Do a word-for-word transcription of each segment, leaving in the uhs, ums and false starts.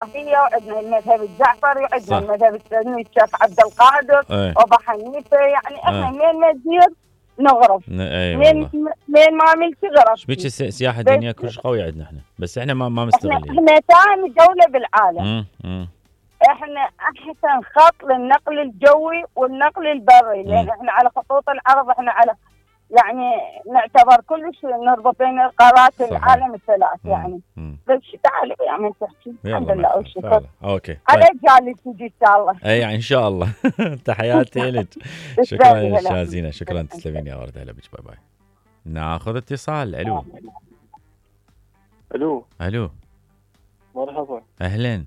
هي وعندنا المذهب الجعفري وعندنا صح. المذهب السني الشيخ عبد القادر اي وابو حنيفه، يعني احنا آه. مين ما نزيد نغرف، ن- اي مين والله. مين ما ملتي غرف. شبيك الس- السياحه بس الدينيه كلش قويه عندنا احنا، بس احنا ما ما احنا مستغلين. احنا ثاني دوله بالعالم. امم امم احنا احسن خط للنقل الجوي والنقل البري، لان مم. احنا على خطوط العرض، احنا على يعني نعتبر كلش نربط بين قارات صحيح. العالم الثلاث مم. يعني. مم. بس تعالي يا من تحكي يلا الحمد لله ما والشكر يخالف. اوكي على طيب. اجيال تجي ان شاء الله. اي يعني ان شاء الله. تحياتي لك. شكرا تسلمي لك هلا. شازينه، شكرا تسلمين يا ورده. هلا بك، باي باي. ناخذ اتصال. الو الو الو مرحبا، اهلا،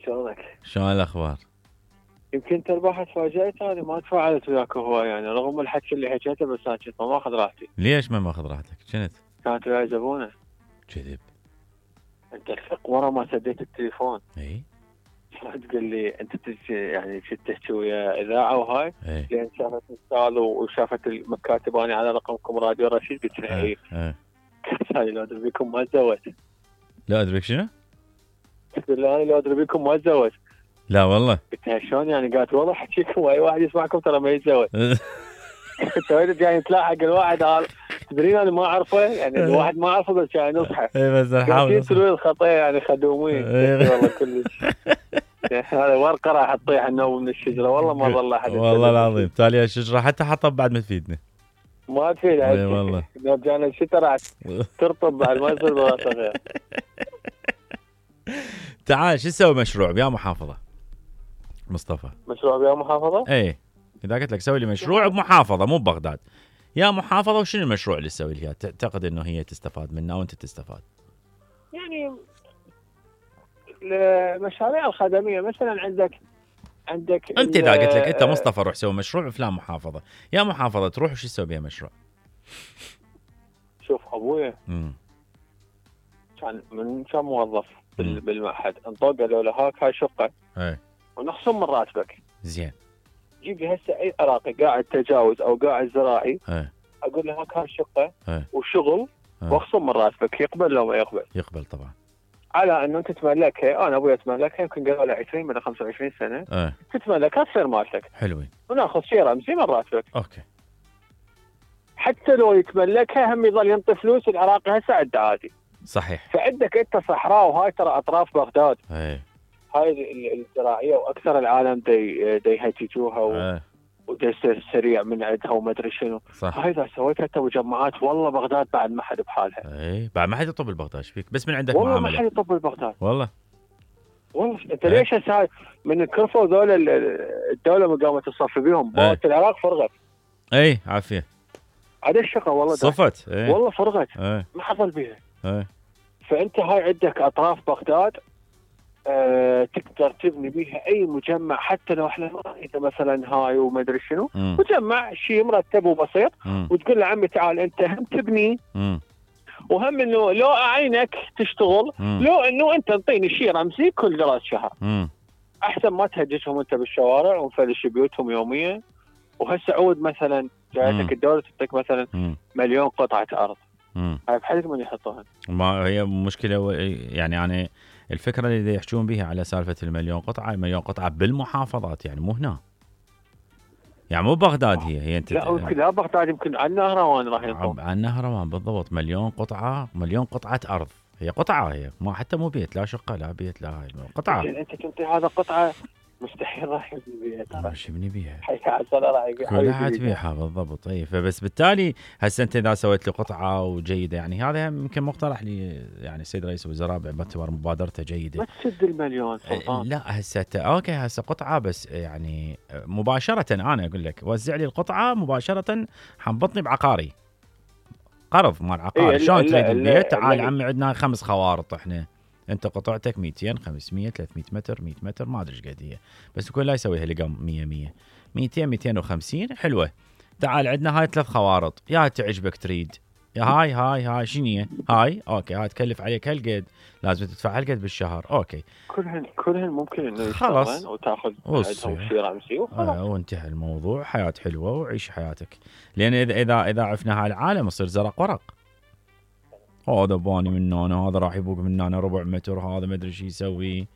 شلونك؟ شلون الاخبار؟ يمكن انت البارحه تفاجأت، انا ما تفاعلت وياك هو يعني رغم الحكي اللي حكيته، بس انا كنت ما اخذ راحتي. ليش ما ماخذ راحتك؟ كنت كانت وياي زبونه، كذب. انت الفق ورا ما سديت التليفون اي تقول لي انت تجي يعني كنت تحكي ويا اذاعه وهاي، اي لين شافت مثال وشافت المكاتب اني على رقمكم راديو رشيد، قلت لها اي. اي قالت لي لو ادري بيكم ما تزوجت. لا ادري شنو؟ قلت لها انا لو ادري بيكم ما تزوجت. لا والله. قلت لها شلون يعني؟ قالت والله احكيكم واي واحد يسمعكم ترى ما يتزوج. انت وين جاي تلاحق الواحد هذا؟ تدرين انا ما اعرفه، يعني الواحد ما اعرفه بس جاي نصحه. اي بس قاعدين نحاول. يسوون الخطايا يعني خدومين. والله كلش هذا ورقه راح تطيح النوم من الشجره، والله ما ظل احد. والله العظيم تالي الشجره حتى حطب بعد ما تفيدنا. ما تفيد. اي والله. لو جانا الشتاء راح ترطب بعد ما يصير براسه غير. تعال شو تسوي مشروع بيا محافظه مصطفى؟ مشروع بيا محافظه؟ اي اذا قلت لك سوي لي مشروع بمحافظه مو ببغداد، يا محافظه، وشنو المشروع اللي تسوي لها تعتقد انه هي تستفاد منه وانت تستفاد؟ يعني المشاريع الخدميه مثلا عندك عندك انت اذا قلت لك انت مصطفى روح سوي مشروع بفلان محافظه، يا محافظه تروح وش تسوي بها مشروع؟ شوف ابويا امم كان من كان موظف بال- مم. بالمعهد، انطوق قالوا له هاك هاي شقه اي ونخصم من راتبك. زين. جيب لي هسه اي عراقي قاعد تجاوز او قاعد زراعي، اي اقول له هاك هاي شقه اي وشغل اي واخصم من راتبك، يقبل لو ما يقبل؟ يقبل طبعا. على انه انت تملكها، انا ابوي تملكها يمكن قالوا له عشرين ولا خمسة وعشرين سنه، اي تتملكها تصير مالتك حلوين. وناخذ شيء رمزي من راتبك. اوكي. حتى لو يتملكها هم يظل ينطي فلوس العراقي هسه عنده عادي. صحيح. فعندك انت صحراء، وهاي ترى اطراف بغداد اي هاي ال- الزراعيه، واكثر العالم دي دي يهججوها و- اي ودي يصير سريع من عندها وما ادري شنو. صح. هاي اذا سويت انت مجمعات والله بغداد بعد ما حد بحالها. اي بعد ما حد يطب البغداد ايش فيك؟ بس من عندك والله ما معامله. حد يطب بغداد. والله. والله انت إيه. ليش هسه هاي من كرفوا ذول ال- الدوله ما قامت تصفي بيهم، إيه. بوت العراق فرغت اي عافيه. عاد الشقه والله ده. صفت. اي والله فرغت اي ما حصل بيها. اي فانت هاي عندك اطراف بغداد أه تقدر تبني بيها اي مجمع، حتى لو احنا ما نريد مثلا هاي وما ادري شنو، مم. مجمع شيء مرتب وبسيط، مم. وتقول له عمي تعال انت هم تبني مم. وهم انه لو اعينك تشتغل، مم. لو انه انت انطيني شيء رمزي كل راس شهر، مم. احسن ما تهجسهم انت بالشوارع ونفلش بيوتهم يوميا. وهسه عود مثلا مم. جايتك الدوله تعطيك مثلا مم. مليون قطعه ارض، مم. هاي بحالك من يحطوها؟ ما هي مشكله و- يعني يعني الفكره اللي يحجون بها على سالفه المليون قطعه، المليون قطعه بالمحافظات يعني مو هنا، يعني مو بغداد هي هي انت لا يمكن لا بغداد، يمكن على النهروان راح ينطون. عن نهروان بالضبط. مليون قطعه، مليون قطعه ارض، هي قطعه، هي ما حتى مو بيت، لا شقه لا بيت لا هاي قطعه. لكن انت تنطي هذا قطعه مستحيل راح يبني بيها ترى. مش يبني بيها، حي عسل راح يبيع كلها تبيعها بالضبط. اي فبس بالتالي هسه انت اذا سويت لي قطعه وجيده، يعني هذا يمكن مقترح لي يعني السيد رئيس الوزراء باعتبار مبادرته جيده. ما تسد المليون سلطان. لا هسه ت- اوكي هسه قطعه بس يعني مباشره انا اقول لك وزع لي القطعه مباشره، حنبطني بعقاري قرض مال عقار. إيه شلون ال- تريد ال- البيت؟ تعال ال- عمي عندنا خمس خوارط احنا، انت قطعتك مئتين خمسمية ثلاثمية متر مية متر ما ادري ايش قد هي، بس يكون لا يسويها لقم مية مية مئتين مئتين وخمسين حلوه. تعال عندنا هاي ثلاث خوارط، يا تعجبك تريد يا هاي هاي هاي شنو هاي اوكي هاي تكلف عليك هالقد، لازم تدفع هالقد بالشهر اوكي كلهن كلهن ممكن انه خلاص. يشتغلن وتاخذ وصي. عندهم شيء رمزي وخلاص. آه وانتهى الموضوع، حياه حلوه وعيش حياتك. لان اذا اذا اذا عفنا هاي العالم يصير زرق ورق، هذا باني من هنا، هذا راح يبوق من هنا ربع متر، هذا ما ادري شو يسوي.